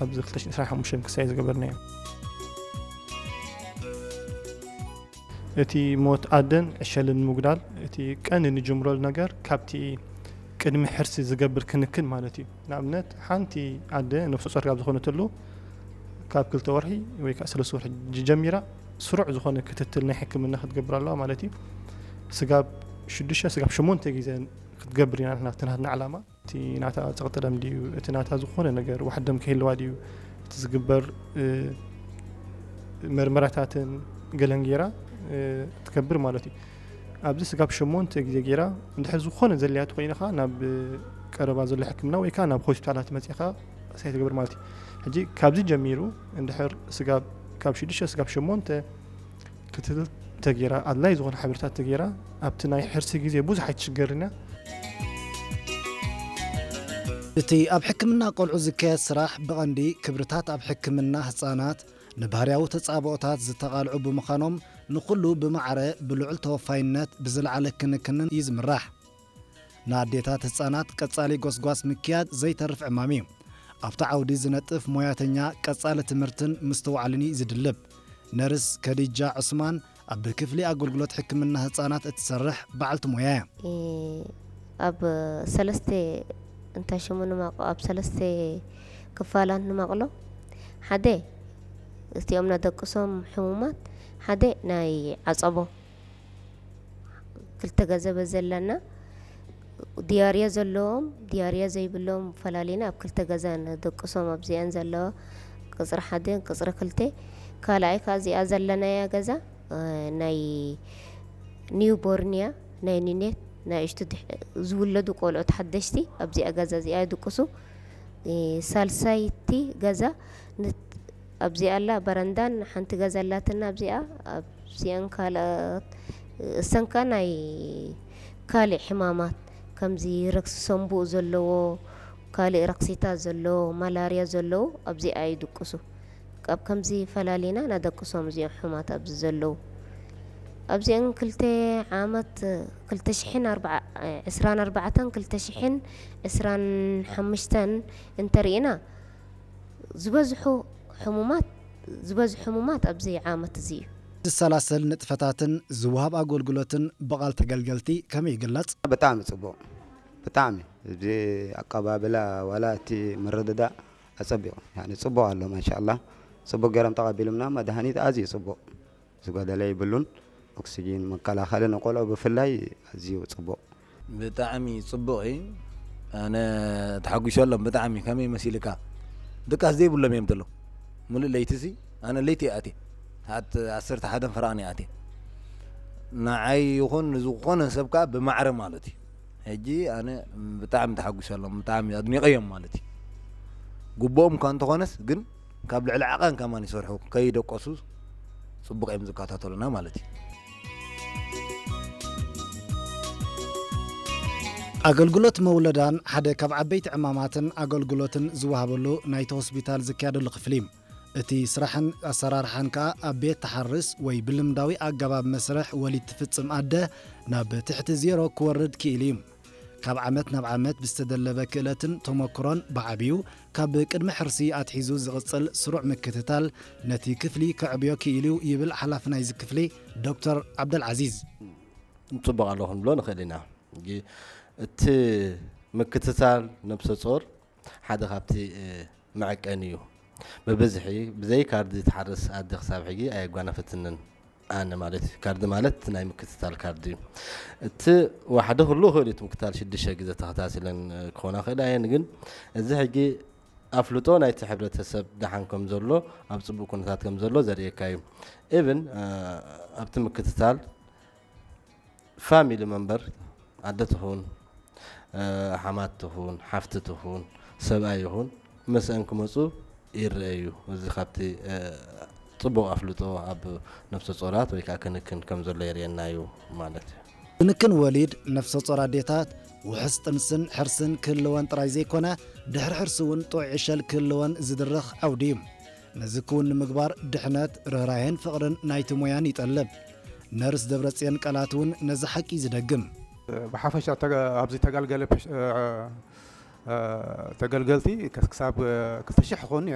ኣብዚ ክልተ ሽሕን ዕስራን ሓሙሽተን ክሳይ ዝገበርናዮ። እቲ ሞት ኣደን ዕሸልን ንምጉዳል እቲ ቀንዲ ንጅምረሉ ነገር ካብቲ ቅድሚ ሕርሲ ዝገብር ክንክን ማለት እዩ። ንኣብነት ሓንቲ ኣደ ነፍሰ ጾር ካብ ዝኾነትሉ ካብ ክልተ ወርሒ ወይ ከዓ ሰለስተ ወርሒ ጀሚራ ስሩዕ ዝኾነ ክትትል ናይ ሕክምና ክትገብር ኣለዋ ማለት እዩ። ስጋብ ሽዱሽተ ስጋብ ሸሞንተ ግዜ ክትገብር ኢና ናትና ናትና ዓላማ። እቲ ናታ ጸቕጢ ደም ድዩ፣ እቲ ናታ ዝኾነ ነገር ዋሕዲ ደም ክህልዋ ድዩ፣ እቲ ዝግበር፣ እ፣ መርመራታትን ገለን ጌራ፣ እ፣ ትገብር ማለት እዩ። ኣብዚ ስጋብ ሸሞንተ ግዜ ጌራ፣ እንድሕር ዝኾነ ዘድልያ ተኾይኑ ኸኣ ናብ ቀረባ ዘሎ ሕክምና ወይ ከኣ ናብ ሆስፒታላት መጺኻ ሳይ ትገብር ማለት እዩ። ሕጂ ካብዚ ጀሚሩ እንድሕር ስጋብ ካብ ሽዱሽተ ስጋብ ሸሞንተ ክትትል ተጌራ፣ ኣድላይ ዝኾነ ሓበሬታት ተጌራ፣ ኣብቲ ናይ ሕርሲ ግዜ ብዙሕ ኣይትሽገርን እያ። እቲ ኣብ ሕክምና ቆልዑ ዝካየድ ስራሕ ብቐንዲ ክብርታት ኣብ ሕክምና ህጻናት ንባህርያዊ ተጻብኦታት ዝተቓልዑ ብምዃኖም ንኹሉ ብማዕረ ብልዑል ተወፋይነት ብዝለዓለ ክንክንን እዩ ዝምራሕ። ንኣዴታት ህጻናት ቀጻሊ ጎስጓስ ምክያድ ዘይተርፍ ዕማም እዩ። ኣብቲ ዓውዲ ዝነጥፍ ሞያተኛ ቀጻሊ ትምህርትን ምስትውዓልን እዩ ዝድልብ። ነርስ ከዲጃ ዑስማን ኣብ ክፍሊ ኣገልግሎት ሕክምና ህጻናት እትሰርሕ በዓልቲ ሞያ እያ። እ፣ ኣብ ሰለስተ እንታይ ሽሙ ንመቕ-፣ ኣብ ሰለስተ ክፋላት ንመቕሎ። ሓደ እቲኦም ነደቅሶም ሕሙማት፣ ሓደ ናይ ዓጸቦ ክልተ ገዛ በዘለና ዲያርያ ዘለዎም ዲያርያ ዘይብሎም ፈላሊና ኣብ ክልተ ገዛ ነደቅሶም ኣብዚኣን ዘለዋ ቅጽሪ ሓደን ቅጽሪ ክልተ። ካልኣይ ከኣ እዚኣ ዘለናያ ገዛ፣ እ፣ ናይ ኒው ቦርንያ ናይ ኒኔት ናይ እሽቱ ድሕ-፣ ዝውለዱ ቆልዑት ሓደሽቲ ኣብዚኣ ገዛ እዚኣ ይድቅሱ። እ፣ ሳልሳይቲ ገዛ ን-፣ ኣብዚኣ ኣላ በረንዳን ሓንቲ ገዛ ኣላትና ኣብዚኣ። ኣብዚኣን ካልኦት እሰንካ ናይ ካልእ ሕማማት ከምዚ ረክሲ ሰንቡእ ዘለዎ፣ ካልእ ረክሲታት ዘለዎ፣ ማላርያ ዘለዎ ኣብዚኣ ይድቅሱ። ካብ ከምዚ ፈላሊና ናደቅሶም እዚኦም ሕማት ኣብዚ ዘለዉ። ኣብዚአን ክልተ ዓመት ክልተ ሽሕን ኣርባዓ፣ ዕስራን ኣርባዕተን ክልተ ሽሕን ዕስራን ሓሙሽተን እንተርኢና ዝበዝሑ ሕሙማት፣ ዝበዝሑ ሕሙማት ኣብዚ ዓመት እዚ እዩ። ዝሰላሰል ንጥፈታትን ዝወሃብ ኣገልግሎትን ብቓል ተገልገልቲ ከመይ ይግለጽ? ብጣዕሚ ጽቡቕ፣ ብጣዕሚ እዚ ኣቀባብላ ዋላ እቲ ምርድዳእ ኣጸቢቑ፣ ያኒ ጽቡቕ ኣሎ ማሻኣላ። ጽቡቕ ገይሮም ተቐቢሉምና፣ መድሃኒት ኣዝዩ ጽቡቕ፣ ዝጎደለ የብሉን። ኦክሲጂን መከላኸሊ ንቆልዑ ብፍላይ ኣዝዩ ጽቡቕ። ብጣዕሚ ጽቡቕ እዩ። ኣነ ተሓጒሰሎም ብጣዕሚ። ከመይ መሲልካ? ድቃስ ዘይብሎም እዮም ዘለዉ። ምሉእ ለይቲ ሲ፣ ኣነ ለይቲ እየ ኣትየ። ሰዓት ዓሰርተ ሓደን ፈረቓን እየ ኣትየ። ንዓይ ይኹን ንዝኾነ ሰብ ከኣ ብማዕረ ማለት እዩ። ሕጂ ኣነ ብጣዕሚ ተሓጒሰሎም፣ ብጣዕሚ ኣድኒቐዮም ማለት እዩ። ግቡኦም እኳ እንተኾነስ ግን ካብ ልዕሊ ዓቐን ከማን ይሰርሑ፣ ከይደቀሱ ጽቡቕ እዮም ዝከታተሉና ማለት እዩ። ኣገልግሎት መውለዳን ሓደ ካብ ዓበይቲ ዕማማትን ኣገልግሎትን ዝወሃበሉ ናይቲ ሆስፒታል ዝካየደሉ ክፍሊ እዩ። እቲ ስራሕን ኣሰራርሓን ከኣ ኣብ ቤት ተሓርስ ወይ ብልምዳዊ ኣገባብ መስርሕ ወሊድ ትፍጽም ኣደ ናብ ትሕቲ ዜሮ ክወርድ ክኢሉ እዩ። ካብ ዓመት ናብ ዓመት ብዝተደለበ ክእለትን ተመክሮን ብዓቢኡ ካብ ቅድሚ ሕርሲ ኣትሒዙ ዝቕጽል ስሩዕ ምክትታል ነቲ ክፍሊ ከዕብዮ ክኢሉ እዩ ይብል ሓላፊ ናይዚ ክፍሊ ዶክተር ዓብደልዓዚዝ። ንጽቡቕ ኣሎ ክንብሎ ንኽእል ኢና። ሕጂ እቲ ምክትታል ነብሰ ጾር ሓደ ካብቲ፣ እ፣ መዐቀኒ እዩ። ብብዝሒ ብዘይ ካርዲ ትሓርስ ኣደ ክሳብ ሕጂ ኣየጓነፈትንን። ኣነ ማለት እዩ። ካርዲ ማለት እቲ ናይ ምክትታል ካርዲ እዩ። እቲ ዋሕዲ ክህሉ ይኽእል እዩ፣ እቲ ምክትታል ሽዱሽተ ግዜ ተኸታቲለን ክኾና ይኽእላ እየን፣ ግን እዚ ሕጂ ኣፍልጦ ናይቲ ሕብረተሰብ ደሓን ከም ዘሎ፣ ኣብ ጽቡቕ ኩነታት ከም ዘሎ ዘርእየካ እዩ። ኢቭን፣ እ፣ ኣብቲ ምክትታል ፋሚሊ መንበር፣ ኣደ ትኹን፣ እ፣ ሓማት ትኹን፣ ሓፍቲ ትኹን፣ ሰብኣይ ይኹን፣ ምስአን ክመጹ ይረአ እዩ። እዚ ካብቲ፣ እ፣ ጽቡቕ ኣፍልጦ ኣብ ነፍሰ ጾራት ወይ ከኣ ክንክን ከም ዘሎ የርእየና እዩ ማለት እዩ። ክንክን ወሊድ ነፍሰ ጾር ኣዴታት ውሑስ ጥንስን ሕርስን ክህልወን ጥራይ ዘይኮነ፣ ድሕሪ ሕርሲ እውን ጥዑይ ዕሸል ክህልወን ዝድርኽ ዓውዲ እዩ። ነዚ ክውን ንምግባር ድሕነት፣ ርህራሄን ፍቕርን ናይቲ ሞያን ይጠልብ። ነርስ ደብረጽዮን ቃላት እውን ነዚ ሓቂ እዩ ዝደግም። ብሓፈሻ ተገ-፣ ኣብዚ ተገልገለ ፕሽ-፣ እ፣ እ፣ ተገልገልቲ ከስ-፣ ክሳብ ክልተ ሽሕ ክኾኑ ነይሮም።